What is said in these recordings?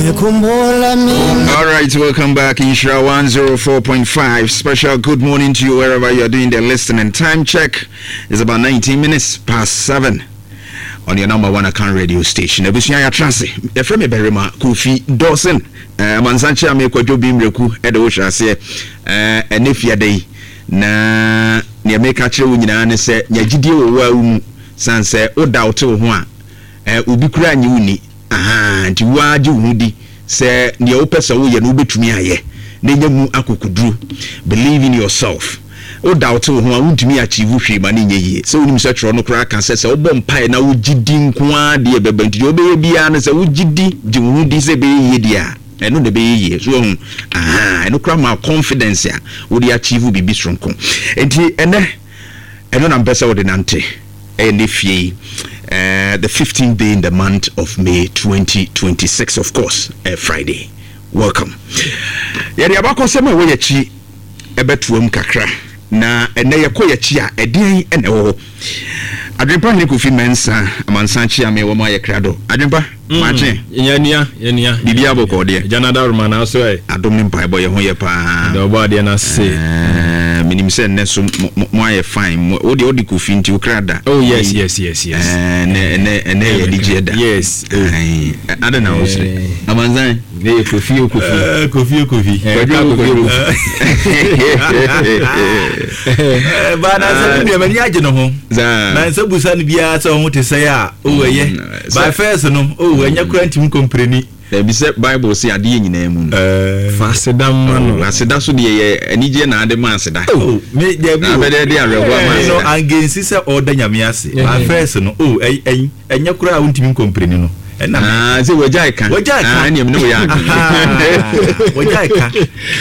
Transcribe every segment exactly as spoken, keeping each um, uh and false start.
All right, welcome back. Nhyira one oh four point five. Special good morning to you wherever you're doing the listening. Time check is about nineteen minutes past seven on your number one account radio station. Abusua, yɛatra ase. Yɛfrɛ me Barima Kofi Dawson. Amansankyɛ a mekwadwo bi mmerɛku ɛde wo hyɛ aseɛ ɛne fiada yi, na nea meka kyerɛ wo nyinaa ne sɛ nya gyidie wɔ wo a wo mu, sane sɛ woda wote wo ho a, obi koraa nye wo ni. Aha, nti woa gye wo ho di sɛ nea wopɛ sɛ woyɛ no, wobɛtumi ayɛ na ɛnya mu akokoduro. Believe in yourself. Woda wote wo ho a, wontumi achieve hwee ma ne nyɛ yie. Sɛ wonim sɛ twerɛ no koraa ka sɛ sɛ wobɔ mpaeɛ na wogye di nko ara deɛ, ɛbɛba. Nti deɛ wobɛyɛ biara no, sɛ wogye di, gye wo ho di sɛ ɛbɛyɛ yie deɛ a, ɛno na ɛbɛyɛ yie. So wahu, aha, ɛno koraa ma confidence a wode achieve biribi soronko. Nti ɛnɛ ɛno na mpɛ sɛ wode nante. Ɛyɛ ne fie yi, uh, the fifteenth day in the month of May twenty twenty-six, of course, uh, Friday. Welcome. Yɛde abakɔsɛm a ɛwɔ yɛkyi ɛbɛtoam kakra, na ɛnɛ yɛkɔ yɛkyi a, ɛdeɛn ɛna ɛwɔ hɔ? Adwempa Hene Kofi Mɛnsa Amansan kyi ame wɔ mu ayɛ krado. Adwempa, maakye. Yɛnua, yɛnua. Biribi abɔkɔ deɛ? Gyanada roma na so ɛ. Adom ne mpaebɔ, yɛ ho yɛ paa. Dɛ ɔbɔ adeɛ no ase. Eh, menim sɛ nnɛ so mo mo ayɛ fine. Mo- wode wode Kofi nti wokra da. Oh yes yes yes yes Eh, ɛnɛ ɛnɛ ɛnɛ yɛ anigyeɛ da. Yes. Aye. Ade na wosere? Eh. Amansan. Ne yɛ Kofi o, Kofi. Eh, Kofi o, Kofi. Eh, Kwadwo o, Kofi o. Kwadwo. Eh, ba na sɛ ne nua agye ne ho. Zaa. Na nsɛ busa no biara sɛ ɔho te sɛ a, o ɛyɛ. Mm, by sɛ- first no, o ɛnyɛ kora ntumi complain. Dabi, sɛ Bible sɛ adeɛ nyinaa mu no, fa aseda ma no. Oh, aseda so deɛ, yɛ anigyeɛ na ade ma aseda. Oh, me dabi Na o. abɛdɛ de awerɛhoɔ ama Me no aseda. angensi sɛ ɔda Nyame ase. By first no, o ɛy- ɛy- ɛnyɛ kora a wontumi complain no. Ɛna me- Ah, sɛ wagyae ka. Wagyae ka. Ah, ɛneɛ mene woyɛ adwene. Aha, wagyae ka.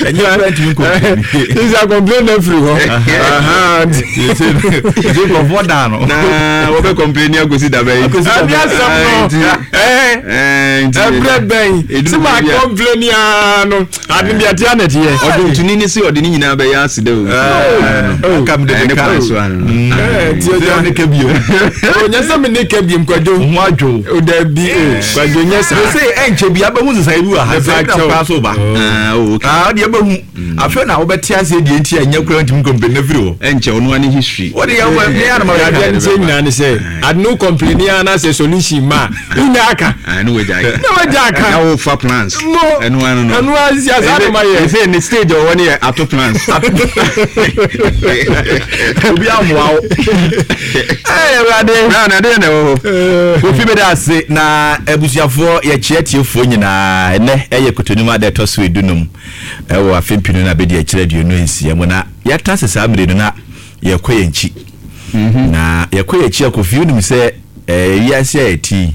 Ɛnyɛ kora ntumi complain. Sisa complain na firi hɔ. Aha, nti- Nti nkurɔfoɔ daa no. Na wɔbɛ complain akɔsi da bɛyi? Akɔsi da Ɛne asɛm no. Nti- Ɛɛ, Eh, nti- ɛbrɛ bɛn Ɛduru sɛ ma baabi a- complain yaa no, ade deɛ ɛteɛ na ɛteɛ. Ɔdwontoni ne sɛ ɔde ne nyinaa bɛyɛ aseda o. Eh, aka mede Eh, ne ne ka. kwan so ano no. Mm. Eh, nti Sɛ agya- ɔne ka bio. Onyɛ sɛ me ne ka biem, Kwadwo. Ho adwo. O dabi o, Kwadwo, nyɛ saa. Sɛ ɛnkyɛ bi abɛhu sesaeɛ bi wɔ ha sɛ Mepa ɛna paa so ba. Ah, oh, okay. Ah, ɔde ɛbɛhu afei na wobɛte aseɛ deɛ nti a ɛnyɛ kora ntumi complain na firi hɔ. Ɛnkyɛ, ɔno ane history. Wode yɛ wɔ me anama. Adeɛ no sɛ nyinaa ne sɛ ade no complain yaa na sɛ solution ma a, wonya aka. Ah, ne wagyae ka. Na wagya aka. Na wofa plans. Mo. Ɛno ano no. Ɛno ara si asa no ma yɛ. Ɛsɛ ne stage a ɔwɔ ne yɛ ato plans. Obi amoa wo. Ɛyɛ Awurade. Na na adeɛ na ɛwɔ hɔ. Kofi, bɛda ase na abusuafoɔ, yɛkyerɛ tiefoɔ nyinaa. Ɛnɛ ɛyɛ Kotonim ada ɛtɔ so edunum ɛwɔ afe mpinu na bɛdi akyerɛ aduonu nsia mu, na yɛata se saa mmere no na yɛkɔ yɛn nkyi, na yɛkɔ yɛn akyi a, Kofi, wonim sɛ ɛɛ wiase a yɛte yi,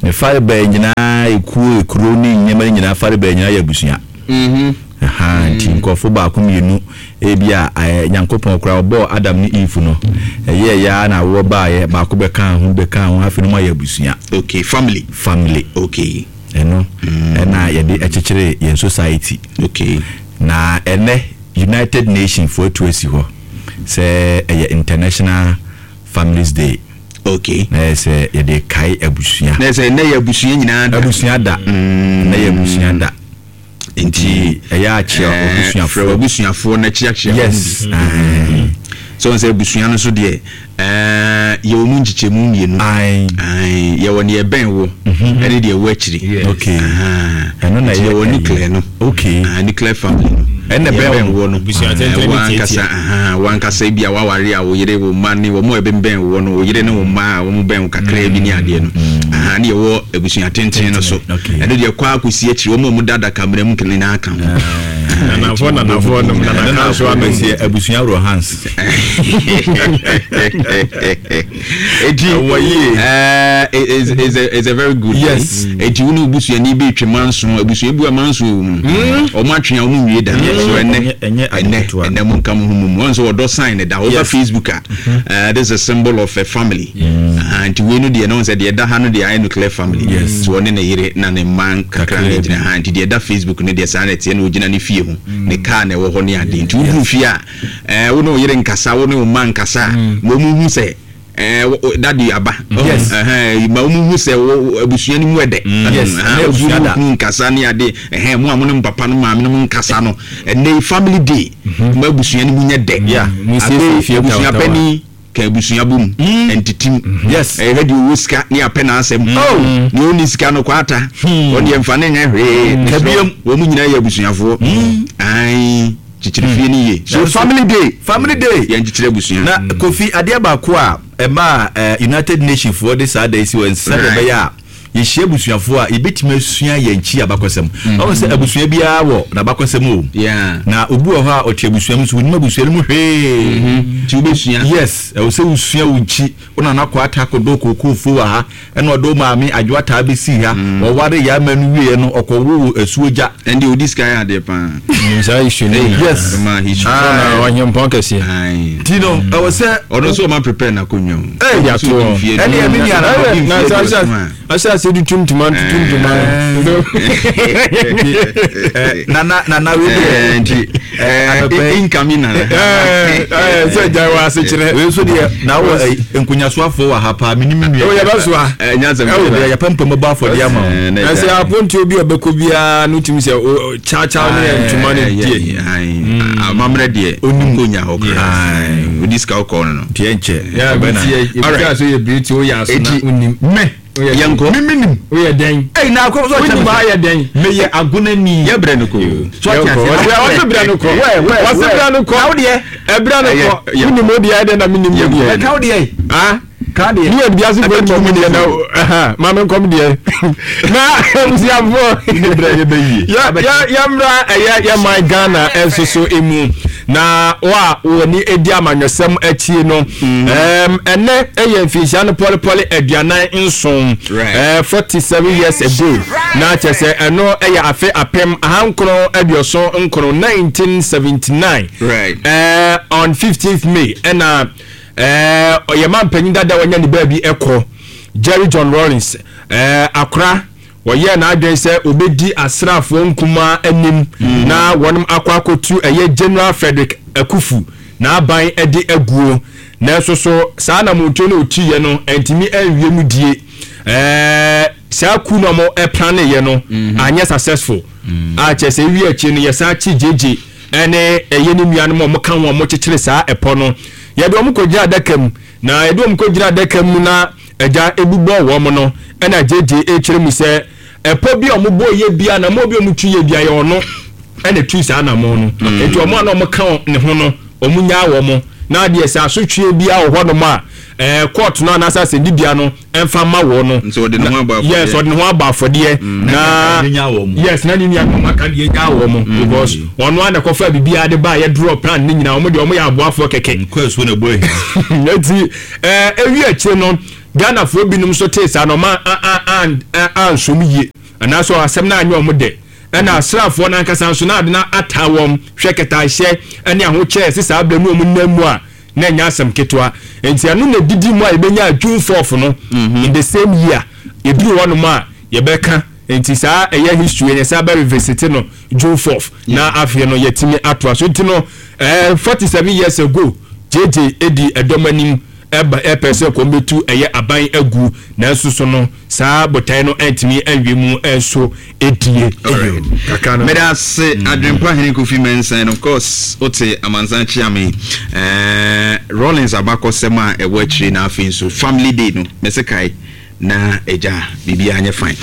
ne farebaa nyinaa, ekuo, ekuro ne nneɛma no nyinaa farebaa nyinaa yɛ abusua. Aha, nti nkurɔfo baako mmienu ebi a ɛɛ Nyankopɔn koraa ɔbɔɔ Adam ne Eve no, ɛyɛ ɛyɛ na awoɔ baayɛ, baako bɛka ho bɛka ho, afei no mo ayɛ abusua. Okay, family. Family. Okay. Ɛno ɛna yɛde ɛkyekyere yɛn society. Okay. Na ɛnɛ United Nation foɔ atu asi hɔ sɛ ɛyɛ International Families Day. Okay. Na yɛ sɛ yɛde kae abusua. Na sɛ ɛnɛ yɛ abusua nyinaa da. Abusua da, ɛnɛ yɛ abusua da. Nti ɛyɛ akyea eh, frɛ abusuafoɔ. Abusuafoɔ na kyeakyea. Yes. Sɛ wɔn sɛ abusua no so deɛ, ɛɛ, yɛwɔ mu nkyekyɛmu mmienu. Ae. Ae, yɛwɔ neɛ ɛbɛn wo ɛne deɛ ɛwɔ akyiri. Okay. Aha. Ɛno na nti ɛyɛ yɛwɔ ɛyi. nuclear no. Okay. Ah, nuclear family no. Ɛna deɛ ɛbɛn ɛbɛn wo no. Abusua Eh, tenten ne wankasa tiatia. Aha, wankasa bi a waware a, wo yere, wo mma ne wɔn a ɛbɛnbɛn wo no, wo yere ne wo mma a wɔn bɛn wo kakra bi ne adeɛ no. Aha, ne yɛwɔ abusua tenten no so. Okay. Ɛno deɛ, kɔ akɔsi akyiri, wɔn a wɔn da adaka mmerɛ mu nyinaa ka ho. Nanafoɔ, nanafoɔ nom nanaka nso ano. Abusua abusua wɔ hans. Eti Ɛwɔ yie. ɛɛ is is a is a very good Yes. thing. Eti wo ne obusuani bi twɛ manso, abusua bi a manso wɔ mu, ɔmo atwe a ɔmo nwie da so ɛnɛ. Ɛnyɛ- ɛnyɛ ade Ɛnɛ ketewa. ɛnɛ mo nka mo ho mu mu wɔn nso ɔdɔ sign ne da ɔba Yes. Facebook a, ɛɛ this is a symbol of a family. Aha, nti wei no deɛ no sɛ deɛ ɛda ha no deɛ, ayɛ nuclear family. Yes. So ɔne ne yere na ne mma kakra Kakra ne bi. gyina ha. Nti deɛ ɛda Facebook no deɛ, saa na ɛteɛ na ogyina ne fie ho, ne car na ɛwɔ hɔ ne ade. Nti woduru fie a, ɛɛ wo ne wo yere nkasa, wo ne wo mma nkasa a, ma ɔmo hu sɛ Eh, wo- wo- daddy aba. Yes. Ɛhɛn, ma wɔn hu sɛ wo- wo- abusua no mu ɛdɛ. Yes, Ɛhɛn, ɛnɛ abusua da. kunu nkasa ne ade, ɛhɛn, mo a mo ne mo papa no maame no mo nkasa no, ɛnɛ yi family day mo abusua no mu nyɛ dɛ. Yeah. Mo siesie Afei, fie abusua tawatawa. panyin ka abusua bom ntitim. Yes. Ɛhwɛ deɛ ɔwɔ sika ne apɛ n'asɛm. Oh. Nea ɔnni sika no kɔ ata, ɔne yɛmfa ne nyɛ hwee. Kabiam. Wɔn mu nyinaa yɛ abusuafoɔ. Ae, kyekyere fie no yie. So Nanso- family day, Family day. yɛn kyekyere abusua. Na Kofi, adeɛ baako a ɛma eh, United Nation foɔ de saa da yi si wɔ sɛdeɛ Right. ɛbɛyɛ a yɛhyia abusuafoɔ a yɛbɛtumi asua yɛn nkyi abakɔsɛm. Ɔhu sɛ abusua biara wɔ n'abakɔsɛm o. Yeah. Na obi wɔ hɔ a ɔte abusua mu so onim abusua no mu hwee. Nti wobɛsua. Yes, ɛwɔ sɛ wosua wo nkyi. Wo nana kɔ ata akɔdɔ kookoofuo wɔ ha, ɛna ɔde wo maame Adwo Ataa bɛsii ha. Wɔware yɛ ama no wieɛ no, ɔkɔwoo asuo gya. Ɛnde odi sika yɛ adeɛ paa. Nim saa issue no nyinaa. Yes. Ma history. Na ɔhempɔn kɛseɛ. Aye. Nti no ɛwɔ sɛ Ɔno nso ɔma prepare n'akonnwa o. Hey, Ɛde ato hɔ. Mfie Ɛne ɛme nua na Ɛyɛ, ɔdi na mfie sɛ aduɔson ahyɛ a. ahyɛ ase de tum ntoma tutum ntoma. Eh, nana nana wei Eh, deɛ nti eh, Anɔpa yi. incoming nana. Ɛɛ ɛɛ sɛ gya wɔ ase kyerɛ. Wei nso deɛ na wɔ eh, nkonyasoafoɔ wɔ ha paa, menim nua. O yɛ bɛ so a. Eh, nyansa Ɛwɔ bi. Deɛ yɛpɛ mpam bɔ afɔdeɛ ama wo. Eh, na Na sɛ ɛgya. apontuo bi a ɔbɛkɔ biara no tumi sɛ o kyaakyaa ne yɛ ntoma no Eh, die. yeah, yeah, amammerɛ deɛ onim konya hɔ koraa, odi sika wokɔɔ no no Deɛ nkyɛ Yɛ ɔbɛna. bi tie ebi Alright. a so yɛ biri ti o yɛ aso na Eti- onim. Me Oyɛ dɛn? Yɛnkɔ. me menim. Oyɛ dɛn? Ei, na akɔ so Onim ɔkyɛ ayɛ dɛn? meyɛ agonani. Yɛbrɛ no ko. So ɔte aseɛ. Wɔsi brɛ no kɔ. Wɛ, wɛ, Wɔsi wɛ. brɛ no kɔ. Na wo deɛ? Ɛbrɛ no Ɛyɛ- kɔ. yɛ- Wonim o deɛ ɛdɛn na menim o deɛ. Ɛka wo deɛ. Ah? Ka deɛ. Ni yɛ biase fo nkɔm deɛ na ɛha maame nkɔm deɛ na abusuafoɔ Brɛ yɛ bɛyie. yɛ yɛ yɛmmra ɛyɛ yɛ man Ghana ɛnso so emu na wo a wɔni edi amanyɔsɛm akyi no, ɛɛm ɛnɛ ɛyɛ mfinhyia no pɔlepɔle aduanan nson, Right. ɛɛ forty seven years ago, na kyerɛ sɛ ɛno ɛyɛ afe apem ahankron aduɔson nkron, nineteen seventy nine. Right. ɛɛ on fifteenth May ɛna ɛɛ ɔyɛ mpanyin dada wɔnya ne baabi ɛkɔ, Jerry John Rawlings, ɛɛ akora wɔyɛ n'adwene sɛ obɛdi asraafoɔ nkumaa anim na wɔn akɔ akɔtu ɛyɛ General Frederick Akufu n'aban ɛde aguo. Nanso so saa namontuo no otuiɛ no ntumi anwie mu die. ɛɛ saa coup no a wɔn ɛplaneyɛ no anyɛ successful a kyerɛ sɛ ewi akyi no yɛsan kyi gyegye ɛne ɛyɛ ne nuanom a wɔka ho a wɔkyekyere saa ɛpɔ no, yɛde wɔn kɔgyina adaka mu. Na yɛde wɔn kɔgyina adaka mu na agya ebubɔ wɔn no, ɛna gyegye ekyerɛ mu sɛ ɛpɔ bi a wɔn bɔ yɛ bia na mo bi a wɔn tu yɛ bia yɛ ɔno ɛna tu saa anamɔ no. Eti wɔn a na wɔn ka ne ho no, wɔn nyaa wɔn na adeɛ sɛ asotwe bia wɔ hɔnom a ɛɛ court no anaasɛ asɛndibea no ɛnfa ma wɔn no. Nti ɔde ne ho abɔ afɔdeɛ. Yes, ɔde ne ho abɔ afɔdeɛ na Ne nya wɔn. Yes, na ne nua no aka deɛ nya wɔn mo because ɔno a na kɔfa biribiara de ba a yɛ draw plan ne nyinaa, wɔn deɛ wɔn yɛ aboafoɔ kɛkɛ. Nkɔ asuo na ɛbɔ ahia. Nti ɛɛ ewi akyire no, Ghanafoɔ binom nso tee saa na ɔma ansom yie anaasɛ asɛm no anyɛ ɔmo dɛ. Ɛna asraafoɔ no ankasa nso na ade no ataa wɔn hwɛ kɛtaahyɛ ɛne ahokyɛ ɛsɛ saa abirɛ no wɔn nam mu a na ɛnyɛ asɛm ketewa. Nti ɛno na didi mu a yɛbɛnya June fourth no in the same year. Yɛduru hɔnom a yɛbɛka. Nti saa ɛyɛ history yɛn sɛ abɛ revisit no June fourth na afei no yɛtumi atoa so. Nti no ɛɛ forty seven years ago, J J edi ɛdɔm anim ɛba ɛpɛ sɛ kɔn bɛtu ɛyɛ aban agu, nanso so no saa botae no ɛntumi ɛnwie mu ɛnso edie kakra no. Mede ase, Adwempa Hene Kofi Mensah, and of course wote amansan kyea me. eh, Rawlings abakɔsɛm a ɛwɔ akyire na afei nso family day no mɛsɛ kae na agya biribiaa nyɛ fine.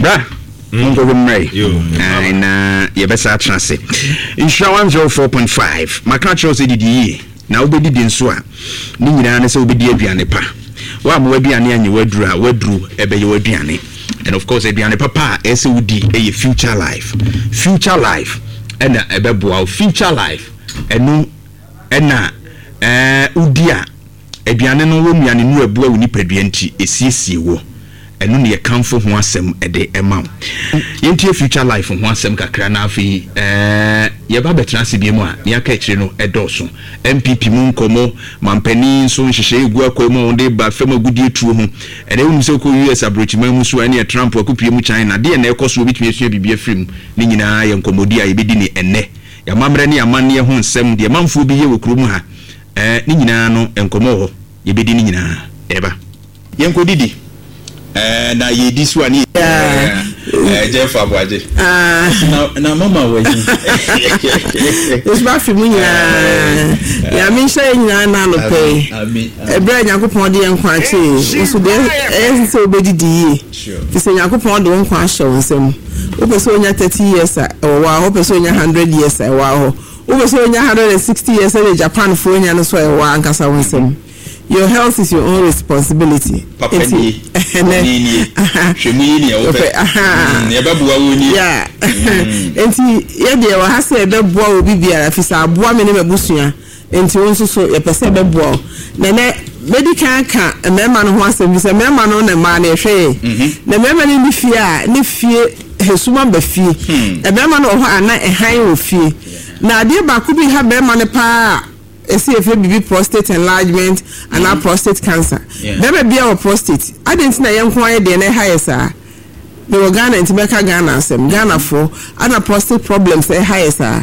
Bra monkɔhwɛ mmerɛ yi na yɛbɛsa atena ase. Nhyira one oh four point five, maka kyerɛ wo sɛ didi yie na wobɛdidi nso a ne nyinaa ne sɛ wobɛdi aduane pa. Woama w'aduane anyɛ w'aduru a, w'aduru ɛbɛyɛ w'aduane. And of course aduane papa a ɛsɛ wodi ɛyɛ Future Life. Future Life ɛna ɛbɛboa wo. Future Life ɛno ɛna ɛɛ wodi a aduane no wɔ nnuane no ɛboa wo nipadua nti ɛsiesie wɔ ɛno ne yɛkamfo ho asɛm ɛde ɛma wo. Yɛntie Future Life ho asɛm kakra na afei ɛɛ yɛba bɛtena ase bi mu a ne aka akyire no ɛdɔɔso. N P P mu nkɔmmɔ, mampanin nso nhyehyɛ egu akɔ mu a wɔde ba fam agudie tuo ho. Ɛnɛ wonim sɛ wokɔ U S aburokyiman mu so a, ɛne Trump akopie mu China deɛ na ɛkɔ so, obɛtumi asua biribi afiri mu. Ne nyinaa yɛ nkɔmmɔdi a yɛbɛdi ne ɛnnɛ. Yɛamammerɛ ne amanneɛ ho nsɛm deɛ manfoɔ bi yɛ wɔ kurom ha, ɛɛ ne nyinaa no nkɔmmɔ wɔ hɔ. Yɛbɛdi ne nyinaa ɛba. Yɛnkɔ didi. Ɛɛ na yɛdi so a ne ɛɛ Jeff Aboagye. Na na mama wɔ yi. Nso afi mu nyinaa. Nyame nhyɛ yɛn nyinaa na anɔpɛ yi. Ɛberɛ a Nyankopɔn de yɛn nkwa akyɛ yi, nso deɛ ɛyɛ sɛ wobɛdidi yie. Fi sɛ Nyankopɔn de wo nkwa ahyɛ wo nsam. Wopɛ sɛ wonya thirty years a, ɛwɔ wɔ hɔ. Wopɛ sɛ wonya hundred years a, ɛwɔ hɔ. Wopɛ sɛ wonya hundred and sixty years sɛdeɛ Japanfoɔ nya no so a, ɛwɔ ankasa wo nsam. Your health is your own responsibility. Papa nie, bɔne nie, hwɛ mu yi nea wopɛ, nea ɛbɛboa wo nie. Yeah. Nti yɛdeɛ wɔ ha sɛ ɛbɛboa obi biara, fi sɛ aboa me ne m'abusua. Nti wo nso so yɛpɛ sɛ ɛbɛboa wo. Na nɛ mɛdi kan ka mmarima no ho asɛm bi sɛ mmarima no na mmaa no yɛhwɛ yɛn. Na mmarima no ne fie a ne fie hesuma ba fie. Mmarima no wɔ hɔ a na ɛhan wɔ fie. Na adeɛ baako bi ha barima no paa esi efe bibi prostate enlargement anaa mm. prostate cancer. Bɛrima bia wɔ prostate. Adi nti na yɛn nko ayɛ deɛ na ɛha yɛ saa. Mewɔ Ghana nti mɛka Ghana asɛm. Ghanafoɔ ana prostate problems ɛha yɛ saa.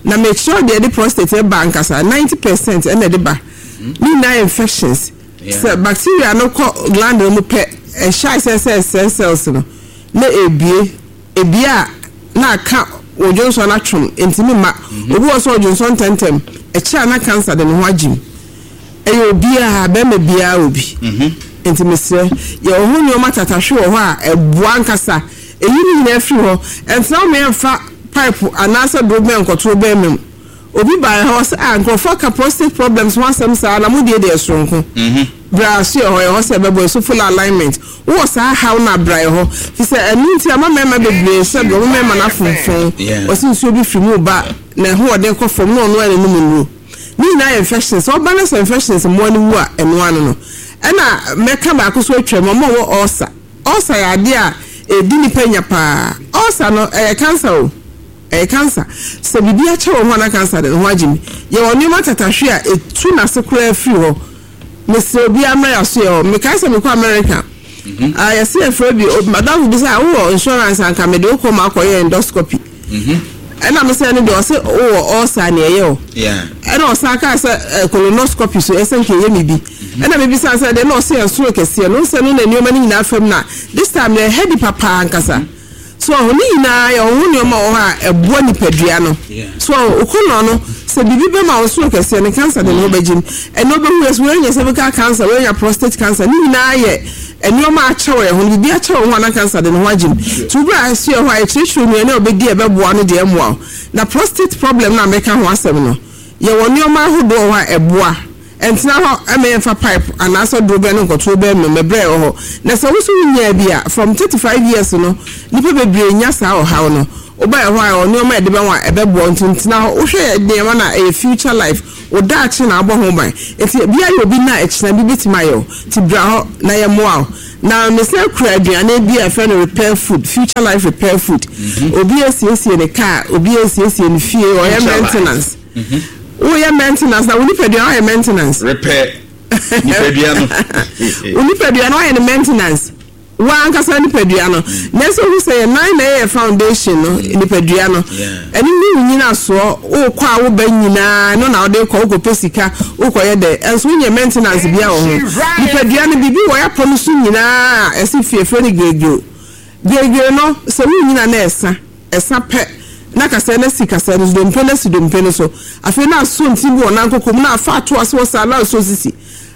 Na mekyerɛw deɛ ɛde prostate ɛba ankasa ninety percent ɛna ɛde ba. Ne nyinaa infections. Sɛ bacteria no kɔ gland no mu pɛ ɛhyɛ sɛ sɛ ɛsɛe cells no na ebie ebie a na aka odwonsɔ no atwom ntumi mma. Obi wɔ sɛ ɔdwonsɔ ntɛntɛm ɛkyɛ a na cancer de ne ho agye mu. Ɛyɛ obiara, bɛrima biara wɔ bi. Nti mesrɛ yɛwɔ ho nneɛma tatahwe wɔ hɔ a ɛboa ankasa. Eyi ne nyinaa firi hɔ. Ɛntena wo mmeɛmfa pipe anaasɛ doro bɛn nkɔto bɛrima mu. Obi baa hɔ sɛ ah nkurɔfoɔ ka prostate problems ho asɛm saa na mo deɛ deɛ soronko. Bra so yɛ hɔ yɛ hɔ sɛ ɛbɛbɔ ɛso full alignment. Wowɔ saa haw no abra yɛ hɔ. Fi sɛ ɛno nti ama mmarima bebree sɛ deɛ ɔmo mmarima no afomfon. Ɔsi nsuo bi firi mu ba na ɛho ɔden kɔ fam na ɔno ɛne nom nnuro. Ne nyinaa yɛ infections. Sɛ ɔba no sɛ infections mmoa no wu a ɛno ano no. Ɛna mɛka baako so atwam ɔmo a ɔwɔ ulcer. Ulcer yɛ adeɛ a ɛdi nipa nya paa. Ulcer no ɛyɛ cancer o. Ɛyɛ cancer. Sɛ biribi akyɛ wɔ ho a na cancer de ne ho agye mi. Yɛwɔ nneɛma tatahwe a ɛtu n'ase koraa firi hɔ. Mesrɛ obiara mmra yɛaso yɛ hɔ. Mekae sɛ mekɔ America. Ah, yɛse yɛfrɛ bi, madamfo bi sɛ, wowɔ insurance anka mede wo kɔ ma akɔyɛ endoscopy. Ɛna me sɛ no deɛ ɔse wowɔ ulcer ne ɛyɛ o. Ɛna ɔsan kaa sɛ colonoscopy so ɛsɛ nka ɛyɛ me bi. Ɛna mebisa sɛ deɛ na ɔse ɛnsoro kɛseɛ no nsɛ no na nneɛma no nyinaa fam na this time na ɛhɛ di papa ankasa. So ɔho ne nyinaa yɛ ɔho nneɛma wɔ hɔ a ɛboa nipadua no. So ɔho okonɔ no sɛ biribi bɛma wo soro kɛseɛ no cancer de ne ho bɛgyim. Ɛna wobɛhu yɛ sɛ woanya cervical cancer, woanya prostate cancer ne nyinaa yɛ nneɛma akyɛ wɔ yɛn ho no biribi akyɛ wɔ ho a na cancer de ne ho agyim. Nti wobere a ɛso yɛ hɔ a yɛkyerɛkyerɛ nnuane a wobɛdi a ɛbɛboa no deɛ ɛmmoa wo. Na prostate problem no a meka ho asɛm no yɛwɔ nneɛma ahodoɔ wɔ hɔ a ɛboa. Ɛntena hɔ ɛma yɛmfa pipe anaasɛ duro bɛn no nkɔto bɛn mu mɛbrɛ wɔ hɔ. Na sɛ wo so wonyaa bi a from thirty five years no nipa bebree nya saa ɔhaw no. Woba ɛhɔ a ɛwɔ nneɛma a yɛde bɛn wo a ɛbɛboa nti ntena hɔ. Wohwɛ yɛ nneɛma no a ɛyɛ future life. Wo daakye na abɔ ho ban. Nti bia yɛ obi na ɛkyena bi bɛtumi ayɛ wo. Nti bra hɔ na yɛmmoa wo. Na mesan kura aduane bi a yɛfrɛ no repair food, future life repair food. Obi asiesie ne car, obi asiesie ne fie, ɔyɛ maintenance. Woyɛ maintenance na wo nipadua woayɛ maintenance. Repair nipadua no. Wo nipadua no woayɛ no maintenance. Wo ankasa nipadua no. Na sɛ wohu sɛ yɛ nan na ɛyɛ foundation no nipadua no. Ɛno ne wo nyinasoɔ wokɔ a woba nyinaa no na wode kɔ wokɔpɛ sika wokɔyɛ dɛ ɛnso wonyɛ maintenance bia wɔ ho. Nipadua no biribi wɔ yɛapɔ no so nyinaa a ɛse fiefrɛ no giregire. Giregire no sɛ wonyina na ɛsa ɛsa pɛ na kasɛɛ na si kasɛɛ no so dompe na si dompe no so. Afei na aso nti bi wɔ nan koko mu na afa ato ase wɔ saa na aso sisi.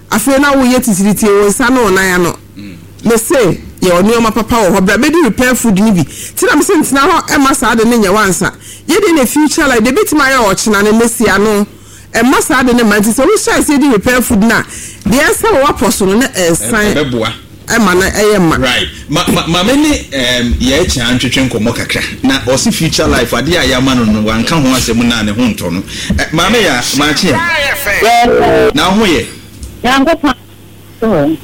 Afei na woyɛ titiritie wo nsa ne wo nan ano. Mese yɛwɔ nneɛma papa wɔ hɔ bra bɛdi repair food no bi. Nti na mese ntena hɔ ɛma saa de ne nyɛ wansa. Yɛde ne future life de bɛtumi ayɛ ɔkyena ne nesi ano. Ɛma saa de ne ma nti sɛ wohyɛ ase di repair food na deɛ ɛsɛ wɔ wapɔ so no na ɛsan ɛbɛboa. Ɛma na ɛyɛ ma. Right. Ma ma ma me ne um, yɛ kyɛ antwetwe nkɔmmɔ kakra. Na ɔse future life adeɛ a yɛama no no wanka ho asɛm na ne ho ntɔ no. Eh, maame ya maakye. Na ho yɛ. Nyankopɔn.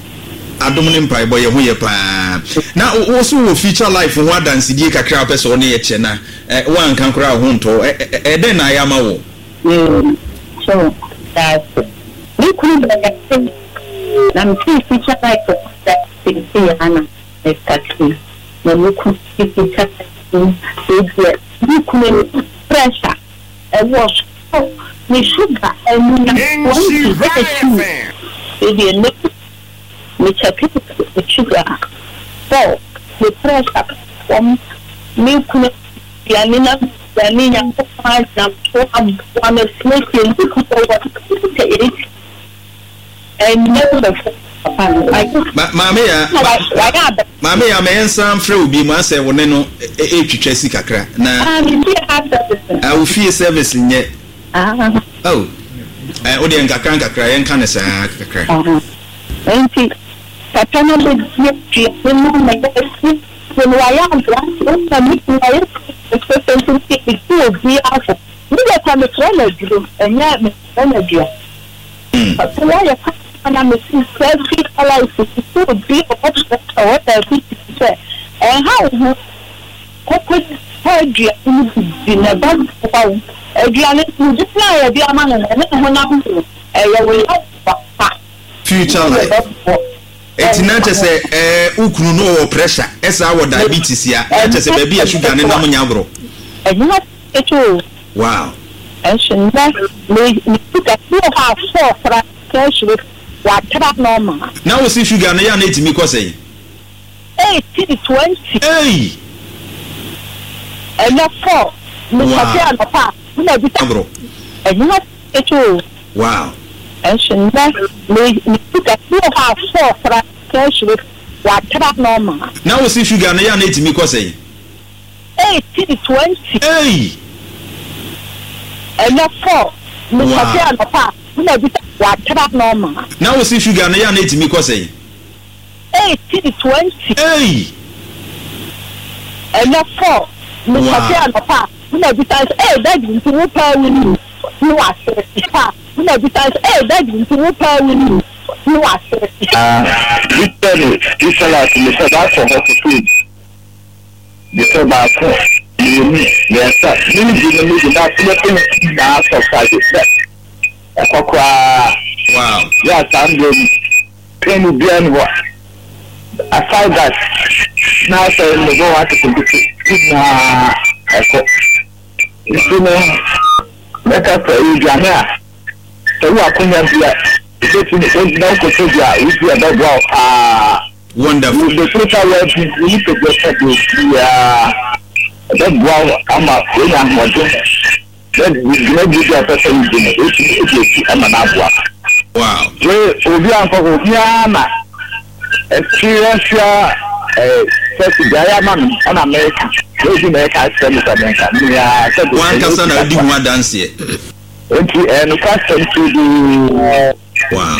Adom ne mpaebɔ yɛ ho yɛ paa. Na wo so wɔ future life ho adansedie kakra a wopɛ sɛ wo ne yɛ kyɛ na eh, woanka koraa wo ho ntɔ. Ɛdɛn na ayɛ ama wo? Mm, so that's it. Me kunu bɛyɛ na me future life sisi ana me na me kunu future life me kunu pressure ɛwɔ so ne sugar ɛnu na twenty ɛyɛ two. Afei deɛ, ne mekyɛke me sugar four, me pressure fam, me kunu aduane na aduane Nyankopɔn agyina so aboa me siesie me kunu wɔ eight, ɛnyɛ bɛfo papa no ayɛ. Ma maame ya na wa- wayɛ abɛ. Maame ya, ma yɛnsan frɛ wo bi mu asɛ wo ne no ɛtwitwa si kakra na Ah, me fie ha service. Ah, wo fie service nyɛ. Ah. Oh, eh, wo deɛ, nkakra nkakra, yɛnka ne saa kakra. Ah. Nti papa no bɛdi aduane no ma yɛsi no, wayɛ aberante wona me kunu wayɛ fɛfɛ, nti mesi obi afo me deɛ kwa mefrɛ no aduro, ɛnyɛ mefrɛ no aduane. Mm. Papa wayɛ kama na mesi sɛ future life sisi obi a ɔwɔ ɔwɔ diabetes sɛ ɛnha wo ho, kɔkɔ pa aduane no bi di na ɛba boa wo. Aduane no di na yɛde ama no no, ɛne ne honam no ɛyɛ wo yɛ pa. Future life, eti na kyɛ sɛ ɛɛ wo kunu no wɔ pressure, ɛsaa wɔ diabetes ya, na kyɛ sɛ baabi a sugar ne nam nya agorɔ. Ɛnyɛ ketewa o. Wow. Ɛnso nnɛ me me sugar bi wɔ hɔ a four kora kɛhyire watra normal. Na wo si sugar no yɛ a, na etimi kɔ sɛn? Eighteen, twenty. Ei! Ɛnɛ four me Wow. kɔfe anɔpa a na bi. Agorɔ. Ɛnyɛ ketewa o. Wow. Ɛnso nnɛ me me sugar bi wɔ hɔ a four kora kɛhyire watra normal. Na wo si sugar no yɛ a, na etimi kɔ sɛn? Eighteen, twenty. Ei! Ɛnɛ four me Wow. kɔfe anɔpa a na bi watra normal. Na wo si sugar no yɛ a, na etimi kɔ sɛn? Eighteen, twenty. Ei! Ɛnɛ four me Wow. kɔfe anɔpa a na bi sɛ, "Ee daddy, nti wo paa wo ni ne wasere pa?" Na bi sɛ, "Ee daddy, nti wo paa wo ni ne wasere." Literally, this life mesɛ baakɔ hɔ foforɔ, mesɛ baako, mmienu, mmiɛnsa, medi no medi na mɛpɛ no nyinaa sɔsade sɛ ɛkɔ koraa. Wow. Yɛ a saa mmerɛ mu pain biara ni hɔ. Aside that, na sɛ mebɔ wɔ aketenkete nyinaa ɛkɔ, nti no mɛka sɛ aduane a sɛ wo akonya bi a ebɛtumi na wokɔtɔ bi a wodi a, ɛbɛboa wo paa. Wonderful. The total well-being wo nipadua sɛ deɛ biara ɛbɛboa wo ama woanya ahoɔden na dwumadie bi a ɔpɛ sɛ wodi no, wotumi edi akyi ama no aboa. Wow. Wei obi ankɔ hɔ, obiara na experience a ɛɛ sɛ deɛ ayɛ ama no ɛna mɛka ebi na ɛka kyerɛ mi sɛ mɛka mmea sɛ de. Wankasa na odi ho adanseɛ. Nti ɛɛ nokwa sɛm tuuduu. Wow.